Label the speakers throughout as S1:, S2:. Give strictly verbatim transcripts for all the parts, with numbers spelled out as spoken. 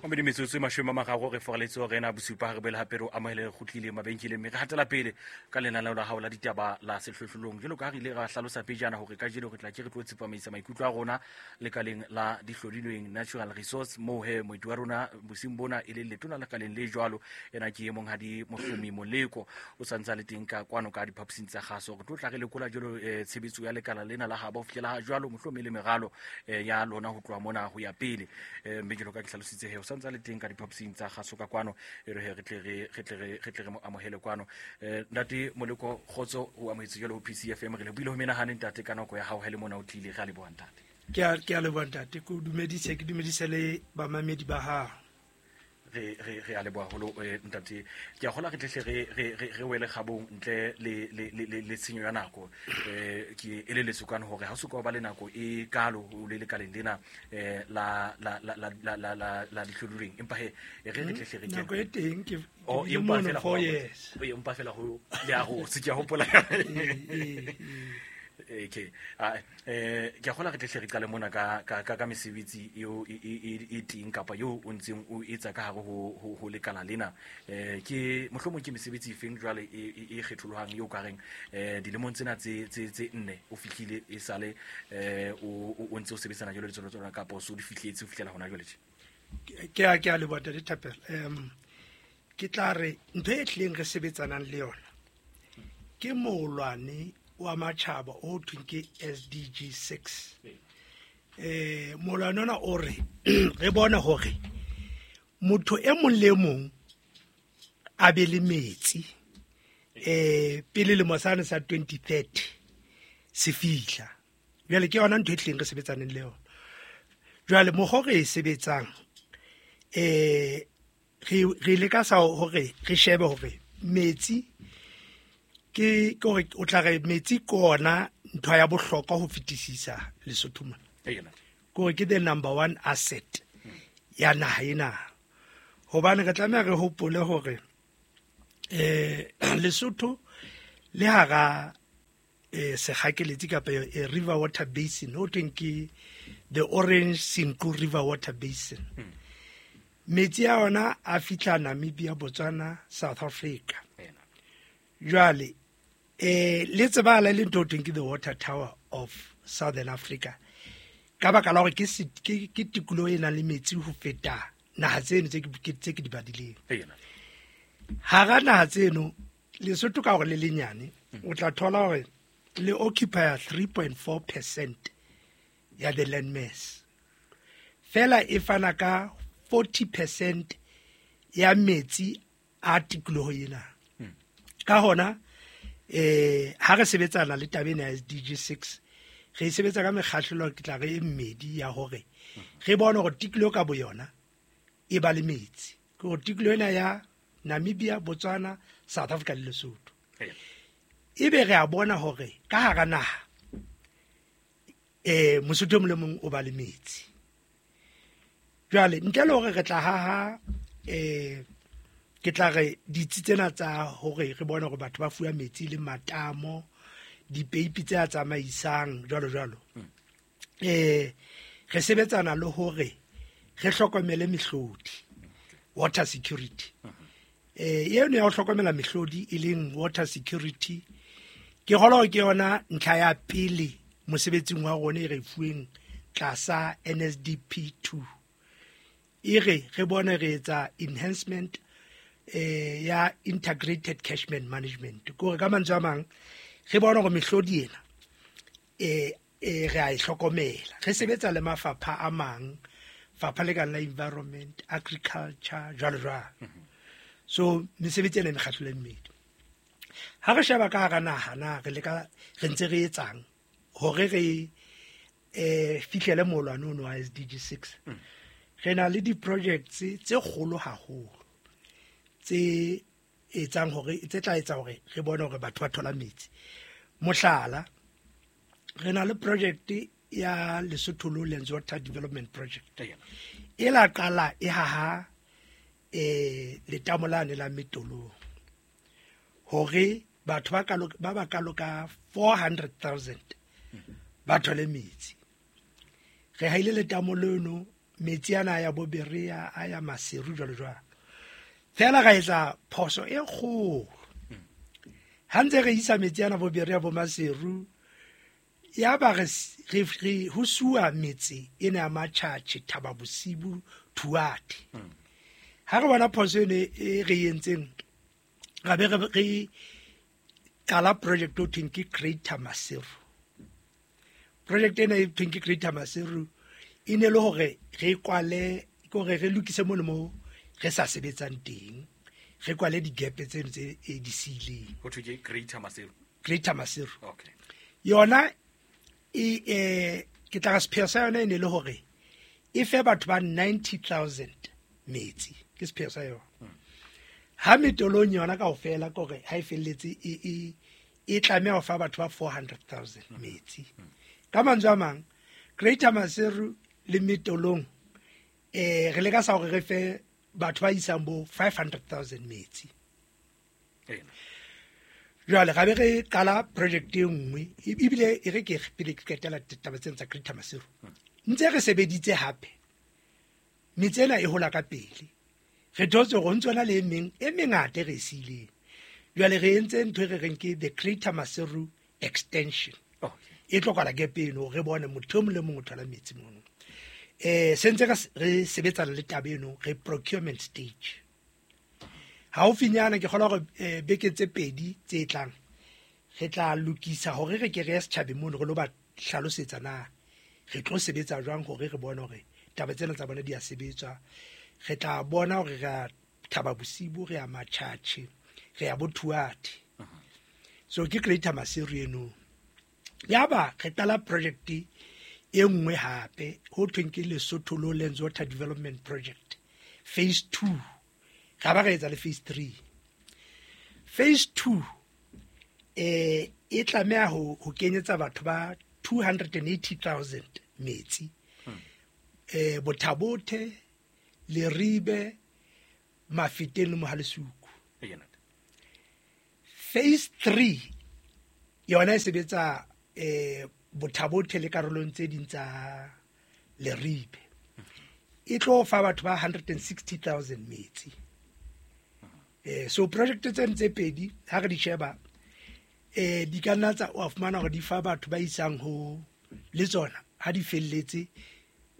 S1: Mme metsotso e mashome a mararo re foraletse hore ena bosupa ha re boele hape re o amohele re kgutlile mabenkeleng, mme re hatela pele ka lenaneo la hao la ditaba la sehlohlolong. Jwalo ka ha re ile ra hlalosa pejana hore kajeno re tla ke re tlo tsepamisa maikutlo a rona lekaleng la dihlodilweng, natural resource, moo he moeti wa rona bosiung bona e leng letona lekaleng le jwalo. Ena ke monghadi Mohlomi Moleko, o santse a le teng ka kwano ka diphaposing tsa kgaso. Re tlo tla re lekola jwalo eh, tshebetso ya lekala lena la habo ho fihlela ha jwalo, mohlomong le meralo eh, ya lona ho tloha mona ho ya pele. Eh, mme jwalo ka ke hlalositse he, o santse a le teng ka diphaposing tsa kgaso ka kwano, e re he re tle re re tle re re tle re mo amohele kwano. Eh, ntate Moleko, kgotso, o amohetse jwalo ho P C F M. Re lebohile ho menahane, ntate, ka nako ya hao ha le mona o tlile. Re a leboha, ntate.
S2: ke a ke a leboha, ntate. Ke o dumedise, ke dumedise le bamamedi ba hao.
S1: re re re a leboha haholo, eh, ntate. Ke a kgola re tlehle re re re re wele kgabong ntle le le le le le tshenyo ya nako. eh ke eleletswe kwana hore ha o soka o ba le nako e kalo o le lekaleng lena eh la la la la la la la la dihlodilweng, empa he e re re tlehle re kene.
S2: Nako e teng ke
S1: Oh,
S2: ke bile
S1: empa
S2: mono
S1: fela
S2: four
S1: ho-
S2: years.
S1: Oh, empa fela ho le a rotse, ke a hopola.
S2: Ee, ee.
S1: Okay, ah, eh ke a kgola re tlehle re qale mona ka ka ka, ka mesebetsi eo e, e, e, e teng kapa eo o ntseng o etsa ka hare ho, ho, ho lekala lena. eh ke mohlomong ke mesebetsi efeng jwale e, e, e kgetholohang eo ka reng eh dilemong tsena tse tse tse nne o fihlile e sale eh o o o ntse o sebetsana jwalo le tsona tsona kapa o so di fihletse ho fihlela hona jwale tje?
S2: ke a ke a leboha, ntate Thapelo. um ke tla re ntho e tlileng re sebetsanang le yona ke moolwane wa matjhaba o thweng ke S D G six. eh moolwane ona o re re bone hore motho e mong le e mong a be le metsi eh pele lemo sane sa twenty thirty se fihla. Jwale ke yona ntho e tlileng re sebetsaneng le yona jwale. Mokgwa o re e sebetsang, eh re re leka sa hore re shebe hore metsi ke ke hore o tla re metsi ke ona ntho ya bohlokwa ho fetisisa Lesotho mona.
S1: Ee, ntate.
S2: Ke hore ke the number one asset ya naha ena, hobane re tlameha re hopole hore eh Lesotho le hara eh sekgakeletsi kapa e river water basin ho thweng ke the Orange Senqu River Water Basin. Metsi a ona a fihla Namibia, Botswana, South Africa.
S1: Ee, ntate.
S2: Jwale eh le tsebahala le ntho ho thweng ke the water tower of Southern Africa, ka baka la hore ke se- ke ke tikoloho e nang le metsi ho feta naha tseno tse ke tse ke di badileng.
S1: Ee, ntate.
S2: Hara naha tseno, Lesotho ka hore le lenyane, o tla thola hore le occupy three point four percent ya the land mass fela, e fana ka forty percent ya metsi a tikoloho ena. Ka hona eh ha re sebetsana le taba ena ya S D G six, re e sebetsa ka mekgahlelo ke tla re e mmedi ya hore re bone hore tikoloho ka boyona e ba le metsi, ke hore tikoloho ena ya Namibia, Botswana, South Africa le Lesotho.
S1: Ee.
S2: Ebe re a bona hore ka hara naha eh Mosotho e mong le mong o ba le metsi. Jwale ntle le hore re tla haha eh ke tla re ditsi tsena tsa hore re bone hore batho ba fuwa metsi le matamo, dipeipi tse a tsamaisang, jwalo jwalo, eh re sebetsana le hore re hlokomele mehlodi, water security. eh eno ya ho hlokomela mehlodi e leng water security, ke kgolwa hore ke yona ntlha ya pele mosebetsing wa rona e re fuweng tlasa N S D P two. E re re bone re etsa enhancement eh ya integrated catchment management, ke hore ka mantswe a mang re bone hore mehlodi ena eh eh re a e hlokomela, re sebetsa le mafapha a mang, fapha le kang la environment, agriculture, jwalo jwalo. So mesebetsi ena e mekgahlelo e mmedi. Ha re sheba ka hara naha na re leka re ntse re etsang hore re eh fihlele moolwane ono wa S D G six, re na le di-projects tse kgolo haholo tse etsang hore tse tla etsa hore re bone hore batho ba thola metsi. Mohlala, re na le project ya Lesotho Lowlands Water Development Project.
S1: Ee,
S2: E la qala e haha eh letamo lane la Metolong hore batho ba kalo ba ba kalo ka four hundred thousand ba thole metsi. Re haile letamo leno. Metsi ana a ya bo Berea, a ya Maseru jwalo jwalo. Fela ra etsa phoso e kgolo. Ha ntse re isa metsi ana bo Berea bo Maseru, ya ba re re re ho suwa metse ena ya Matjhatjhe, Thaba Bosibu, Thuate. Ha re bona phoso eno e re entseng, ra be re re qala project o thweng ke Greater Maseru. Project ena e thweng ke Greater Maseru e ne le hore re kwale, ke hore re lokise mono mo re sa sebetsang teng, re kwale di-gap tseno tse e di siileng.
S1: Ho thwe ke Greater Maseru.
S2: Greater Maseru.
S1: Okay.
S2: Yona e, eh, ke tla re sepheo sa yona e ne le hore e fe batho ba ninety thousand metsi, ke sepheo sa yona. Ha metolong yona kaofela ke hore ha e felletse e, e, e tlameha ho fa batho ba four hundred thousand metsi. Ka mantswe a mang, Greater Maseru le metolong, eh, re leka sa hore re fe batho ba isang bo five hundred thousand metsi.
S1: Ena.
S2: Jwale ra be re qala project e nngwe, e-, ebile e re ke re pele ke qetela taba tsena tsa Greater Maseru. Ntse re sebeditse hape, metse ena e hola ka pele. Re thotse hore ho ntso na le e meng e mengata e re e siileng. Jwale re entse ntho e re reng ke the Greater Maseru extension.
S1: Okay.
S2: E tlo kwala gap eno, re bone motho e mong le mong o thola metsi mono. Eh, se ntse re s-, re sebetsana le taba eno, re procurement stage. Haufinyana ke kgolwa hore, eh, beke tse pedi tse tlang re tla lokisa hore re ke re ye setjhabeng mono re lo ba hlalosetsa na re tlo sebetsa jwang hore re bone hore taba tsena tsa bona di a sebetswa. Re tla bona hore re a Thaba Bosibu, re a Matjhatjhe, re a bo Thuate. So ke Greater Maseru eno. Yaba re qala project e nngwe hape ho thweng ke Lesotho Lowlands Water Development Project phase two. Ra ba re etsa le phase three. Phase two, eh, e tlameha ho, ho kenyetsa batho ba two hundred and eighty thousand metsi.
S1: Hmm.
S2: Eh, Bothabothe, Leribe, Mafeteng le Mohalesuku.
S1: Eya.
S2: Phase three yona e sebetsa, eh, Bothabothe le karolong tse ding tsa Leribe. E tlo fa batho ba hundred and sixty thousand metsi. Eh, so project tse ntse pedi ha re di sheba, eh, di ka nna tsa wa fumana hore di fa batho ba isang ho le tsona ha di felletse,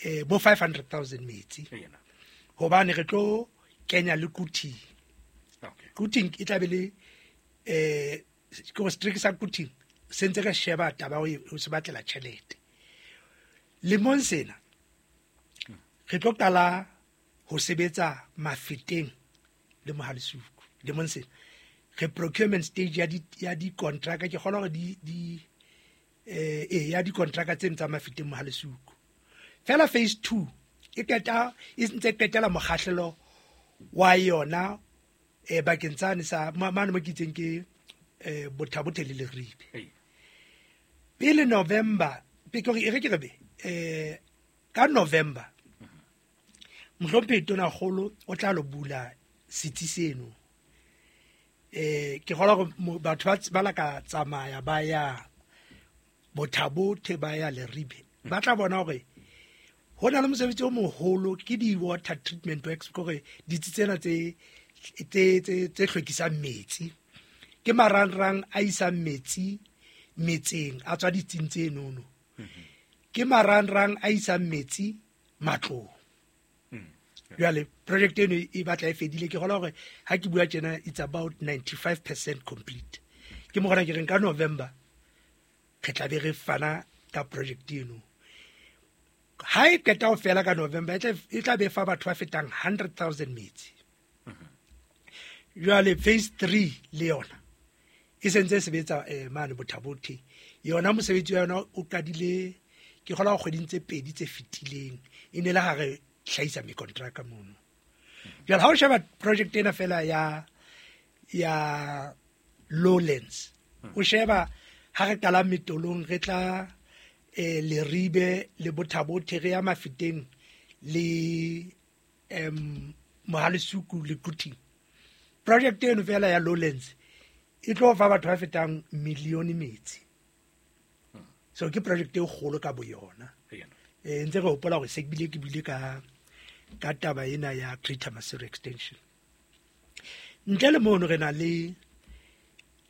S2: eh, bo five hundred thousand metsi.
S1: Eya.
S2: Hobane re tlo kenya le Quthing.
S1: Okay.
S2: Quthing e tla be le, eh, ke hore setereke sa Quthing se ntse re sheba taba ya ho se batlela tjhelete. Lemong sena re tlo qala ho sebetsa Mafeteng le Mohalesuku. Lemong sena re procurement stage ya di, ya dikontraka, ke kgolwa hore di, di, eh, eh, ya dikontraka tse tsa Mafeteng Mohalesuku. Fela phase two e qeta, e ntse qetela mokgahlelo wa yona, eh, bakeng tsane sa, ma-, mane mo ke itseng ke, eh, Bothabothe le Leribe.
S1: Ee.
S2: Pele November, pe ke hore e re ke re be, eh, ka November, mohlomphehi Tonakgolo o tla lo bula setsi seno. Eh, ke kgolwa hore mo-, batho ba ts-, ba la ka tsamaya ba ya Bothabothe, ba ya Leribe, ba tla bona hore ho na le mosebetsi o moholo ke di-water treatment works, ke hore ditsi tsena tse, tse, tse, tse hlwekisang metsi, ke marangrang a isang metsi metseng a tswa ditsing tse nono, ke marangrang a isang metsi matlong. Jwale project eno e batla e fedile, ke kgolwa hore ha ke bua tjena it's about ninety-five percent complete. Ke mo gona ke reng ka November re tla be re fana ka project eno. Ha e qeta ho fela ka November, e tla, e tla be fa batho ba fetang hundred thousand metsi. Jwale phase three le yona e sentse e sebetsa, eh, mane Bothabothe. Yona mosebetsi wa yona o qadile ke kgolwa kgweding tse pedi tse fetileng, e ne le ha re hlahisa mekontraka mono. Jwale ha o sheba project ena fela ya, ya Lowlands, o sheba ha re qala metolong re tla, eh, Leribe le Bothabothe, re ya Mafeteng le, em, Mohalesuku le Quthing. Project eno fela ya Lowlands e tlo fa batho ba fetang milione metsi. So ke project e kgolo ka boyona.
S1: Eya.
S2: Eh ntse re hopola hore se bile ke bile ka ka taba ena ya Greater Maseru Extension. Ntle le mono re na le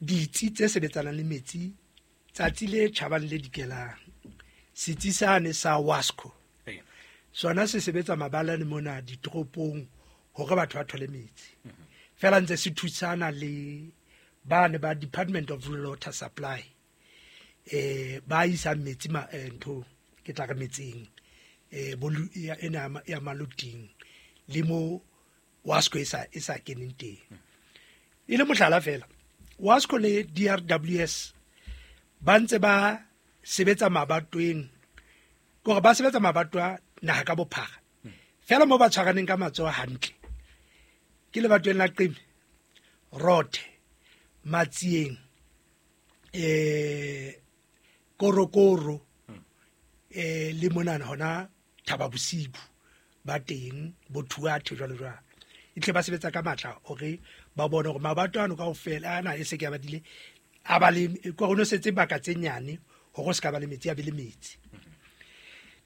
S2: ditsi tse sebetsanang le metsi tsatsi le tjhabang le dikelang. Setsi sane sa Wasco sona se sebetsa mabalane mona ditoropong hore batho ba thole metsi. Fela ntse se thusana le bane ba Department of Rural Water Supply eh ba isa metsi ma ntho ke tla re metseng eh bolu ena ya maluting le mo Wasco e sa e sa keneng teng. E le mohlala fela Wasco le D R W S ba ntse ba sebetsa mabatweng gore ba sebetsa mabatwa naha ka bophara fela mo ba tshwaraneng ka matsoho hantle ke lebatweng la Qeme, Rothe, Matsieng, eh Korokoro eh le monana hona Thaba Bosibu ba teng bothuathe jwalo jwalo. Itle ba sebetsa ka matla hore ba bone hore mabato ano kaofela ana e se ke ba dile a ba le go no setse baka tse nyane hore se ka ba le metsi a be le metsi.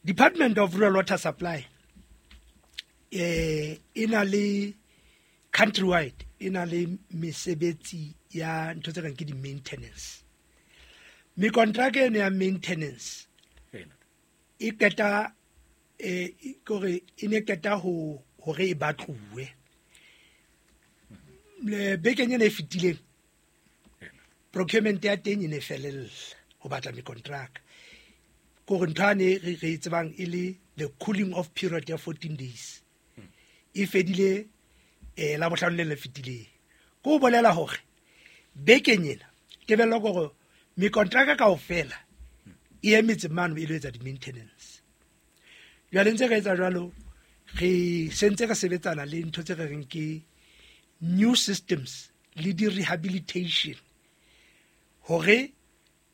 S2: Department of Rural Water Supply eh ina le countrywide ina le mesebetsi ya ntho tse kang ke di maintenance. Me contract eno ya maintenance e qeta eh kore e ne qeta ho hore e batluwe. Le bekeng ena e fetileng procurement ya teng e ne felella ho batla me contract. Kore ntho ane re re tsebang e le the cooling off period ya fourteen days. E fedile eh la bohlano le le fetileng. Ko bolela hore bekeng ena tebello gore me contract kaofela e emetse mane e lo etsa di maintenance. Jwale ntse re etsa jwalo re sentse re sebetsana le ntho tse re reng ke new systems le di rehabilitation hore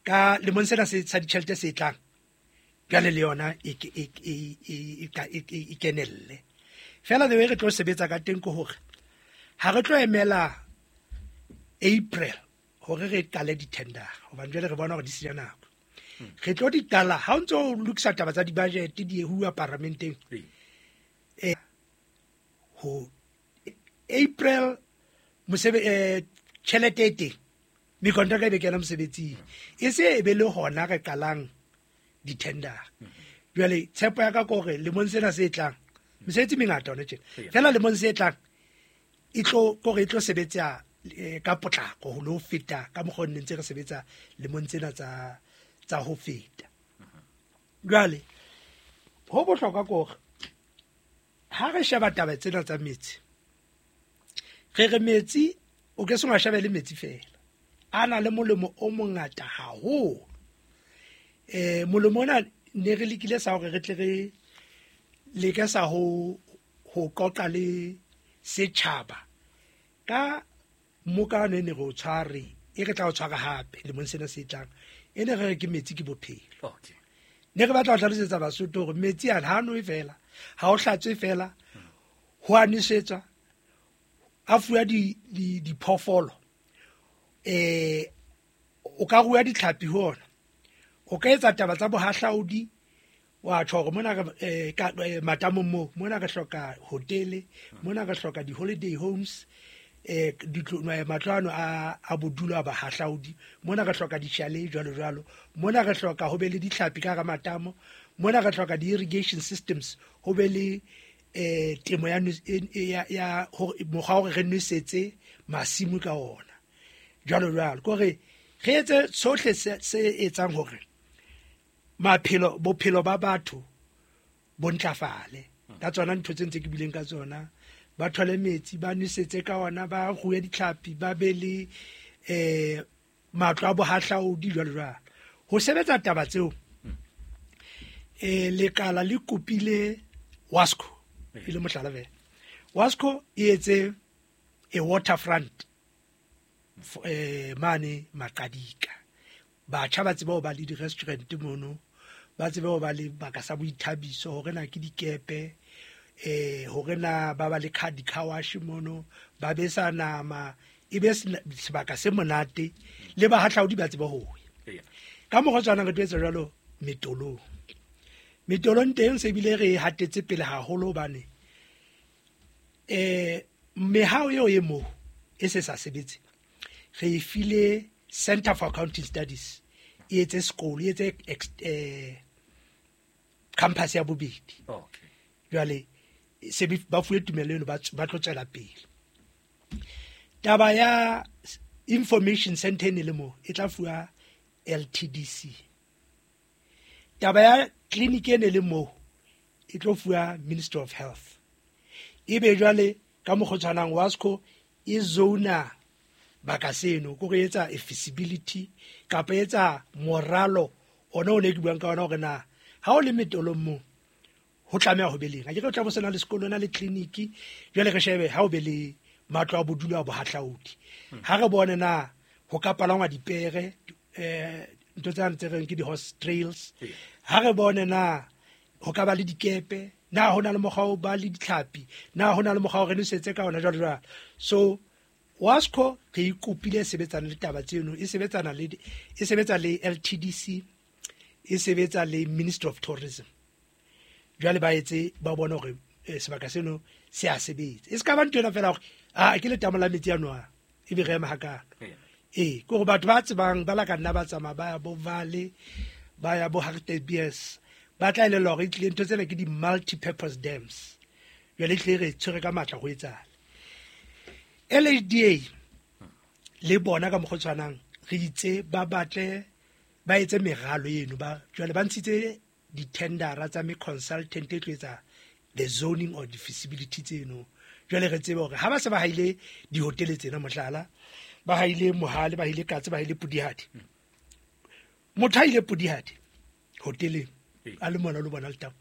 S2: ka lemong sena se sa ditjhelete se tlang jwale le yona e e e e kenelle. Fela the way re tlo sebetsa ka teng ke hore ha re tlo emela April hore re qale di-tender hobane jwale re bona hore di senya nako. Re tlo di qala ha o ntso o lokisa taba tsa di-budget di huwa paramenteng eh ho April mosebe eh tjhelete e teng me contract e be kena mosebetsing e se e be le hona re qalang di-tender. Jwale tshepo ya ka ke hore lemong sena se tlang mesebetsi mengata hona tjena fela lemong se tlang e tlo kore e tlo sebetsa ka potlako ho lo feta ka mokgwa o ne ntse re sebetsa lemong tsena tsa tsa ho feta. Jwale ho bohlokwa ke hore ha re sheba taba tsena tsa metsi re re metsi o ke sengwa shebe le metsi fela a na le molemo o mongata haholo. Eh molemo ona ne re lekile sa hore re tle re leke sa ho ho qoqa le setjhaba ka mokano e ne re o tshware e re tla o tshwara hape lemong sena se tlang e ne re re ke metsi ke bophelo.
S1: Okay.
S2: Ne re batla ho hlalosetsa Basotho hore metsi ana ha nwe fela ha o hlatswe fela ho a nwesetswa a fuwa di diphoofolo eh o ka rua ditlhapi ho ona o ka etsa taba tsa bohahlaudi wa tjho hore mona re ka matamong mo mona re hloka hotele mona re hloka di holiday homes eh ditlo matlo ano a a bodulo a bahahlaudi mona re hloka di-chalet jwalo jwalo mona re hloka ho be le ditlhapi ka hara matamo mona re hloka di-irrigation systems ho be le eh temo ya ya ya mokgwa hore re nwesetse masimo ka ona jwalo jwalo. Kore re etse sohle se etsang hore maphelo bophelo ba batho bo ntlafale ka tsona ntho tse ntse ke bileng ka tsona ba thole metsi ba nwesetse ka ona ba rue ditlhapi ba be le eh matlo a bohahlaudi jwalo jwalo. Ho sebetsa taba tseo eh lekala le kopile Wasco e le mohlala fela. Wasco e etse a waterfront eh mane Maqadika batjha ba tsebe ho ba le di-restaurant mono ba tsebe ho ba le baka sa boithabiso hore na ke dikepe eh hore na ba ba le di-car wash mono ba besa nama e be sebaka se monate le bahahlaudi ba tsebe ho ya. Ka mokgwa o tshwanang re tlo etsa jwalo metolong. Metolong teng se bile re hatetse pele haholo hobane eh mehao eo e moo e se sa sebetse. Re e file Center for Accounting Studies e etse sekolo, e etse eh campus ya bobedi.
S1: Okay.
S2: Jwale se ba fuwe tumello eno ba ba tlo tswela pele. Taba ya information center e ne le mo e tla fuwa L T D C. Taba ya clinic e ne le mo e tlo fuwa Ministry of Health. Ebe jwale ka mokgwa o tshwanang WASCO e zona baka seno ko re etsa feasibility kapa etsa moralo ona o ne ke buang ka ona hore na ha o le metolong mo ho tlameha ho be leng. A ke re o tla bo sena le sekolo na le clinic, jwale re shebe ha o be le matlo a bodulo a bohahlaudi. Ha re bone na ho ka palangwa dipere eh ntho tsa ntse reng ke di horse trails. Ha re bone na ho ka ba le dikepe, na ho na le mokgwa o ba le ditlhapi, na ho na le mokgwa o re nosetse ka ona jwalo jwalo. So WASCO re ikopile sebetsana le taba tseno, e sebetsana le e sebetsa le L T D C, e sebetsa le Ministry of Tourism. Jwale ba etse ba bona hore sebaka seno se a sebetsa. E ska ba ntho ena fela hore a ke letamo la metsi a noa e be re ema hakalo. Eh ke hore batho ba tsebang ba la ka nna ba tsamaya ba ya bo Vale, ba ya bo Hartbeespoort, ba tla elellwa hore e tlile ntho tsena ke di multi-purpose dams. Jwale e tlile re tshwere ka matla ho etsahala. L H D A le bona ka mokgwa o tshwanang re itse ba batle ba etse meralo eno ba jwale ba ntshitse di-tendera tsa me consultant e tlo etsa the zoning or the feasibility tseno. Jwale re tsebe hore ha ba se ba haile dihotele tsena mohlala, ba haile Mohale, ba haile Katse, ba haile Pudihadi. Motho a ile Pudihadi hoteleng a le mona le bona letamo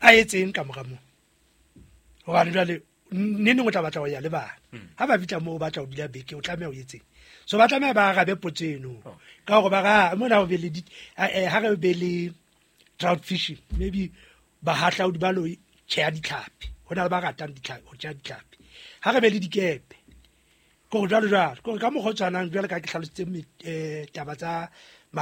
S2: a etseng ka mora moo. Hobane jwale nne neng o tla batla ho ya le bana. Ha ba fihla moo o batla ho dula beke o tlameha o etseng. So ba tlameha ba arabe potso eno ka hore ba ra mona ho be le ha re be le trout fishing, maybe bahahlaudi ba lo tjheha ditlhapi. Ho na le ba ratang ditlhapi, ho tjheha ditlhapi. Ha re be le dikepe ko jwalo jwalo, ko ka mokgwa o tshwanang jwale ka ke hlalositse taba tsa